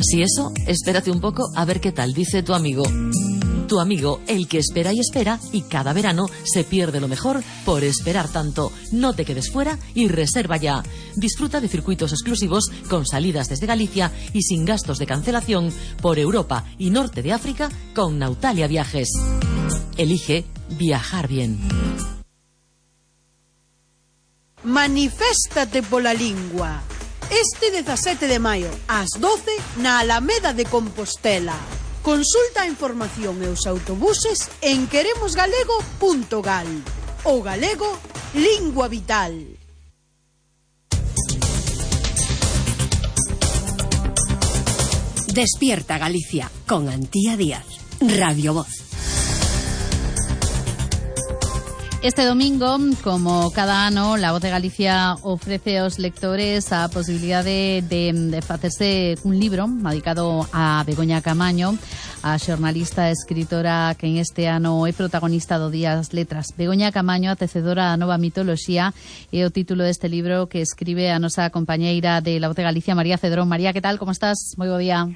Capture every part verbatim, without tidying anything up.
Si eso, espérate un poco a ver qué tal dice tu amigo. Tu amigo, el que espera y espera, y cada verano se pierde lo mejor por esperar tanto. No te quedes fuera y reserva ya. Disfruta de circuitos exclusivos con salidas desde Galicia y sin gastos de cancelación por Europa y norte de África con Nautalia Viajes. Elige viajar bien. Maniféstate pola lingua. Este dezasete de maio, ás doce, na Alameda de Compostela. Consulta a información e os autobuses en queremos galego punto gal. O galego, lingua vital. Despierta Galicia, con Antía Díaz. Radio Voz. Este domingo, como cada ano, La Voz de Galicia ofrece aos lectores a posibilidade de, de facerse un libro dedicado a Begoña Camaño, a xornalista e escritora que en este ano é protagonista do Día das Letras. Begoña Camaño, a tecedora da nova mitoloxía, é o título deste libro que escribe a nosa compañeira de La Voz de Galicia, María Cedrón. María, que tal? Como estás? Moi bo día.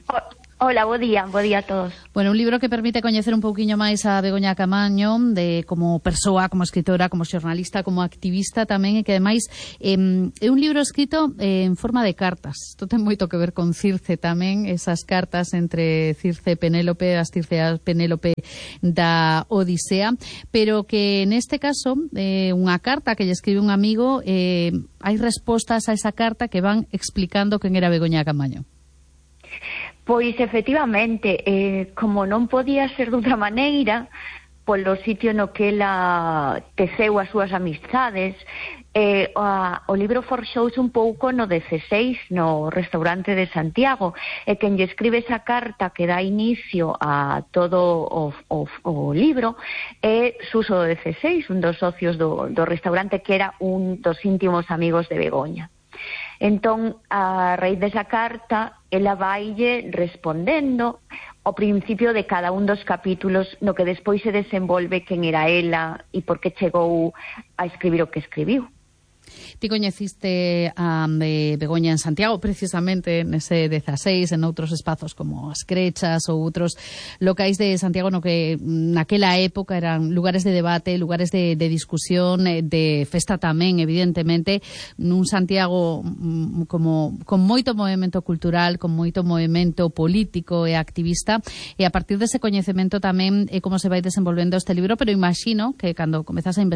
Hola, bo día, bo día a todos. Bueno, un libro que permite coñecer un pouquiño máis a Begoña Camaño, de como persoa, como escritora, como xornalista, como activista tamén, e que ademais eh, é un libro escrito eh, en forma de cartas. Isto ten moito que ver con Circe tamén, esas cartas entre Circe e Penélope, as Circeas Penélope da Odisea, pero que neste caso eh, unha carta que lle escribe un amigo, eh, hai respostas a esa carta que van explicando quen era Begoña Camaño. Pois, efectivamente, eh, como non podía ser de outra maneira, polo sitio no que ela teceu as súas amistades, eh, a, o libro forxouse un pouco no dezseis, no restaurante de Santiago, e quen lle escribe esa carta que dá inicio a todo o, o, o libro é Suso do dezseis, un dos socios do, do restaurante, que era un dos íntimos amigos de Begoña. Entón, a raíz desa carta, ela vaille respondendo ao principio de cada un dos capítulos no que despois se desenvolve quen era ela e por que chegou a escribir o que escribiu. Ti coñeciste a eh, Begoña en Santiago, precisamente nese dezasseis, en outros espazos como as Crechas ou outros locais de Santiago, no que naquela época eran lugares de debate, lugares de, de discusión, de festa tamén, evidentemente, nun Santiago como con moito movimento cultural, con moito movimento político e activista, e a partir dese coñecemento tamén é como se vai desenvolvendo este libro, pero imagino que cando comezas a investigar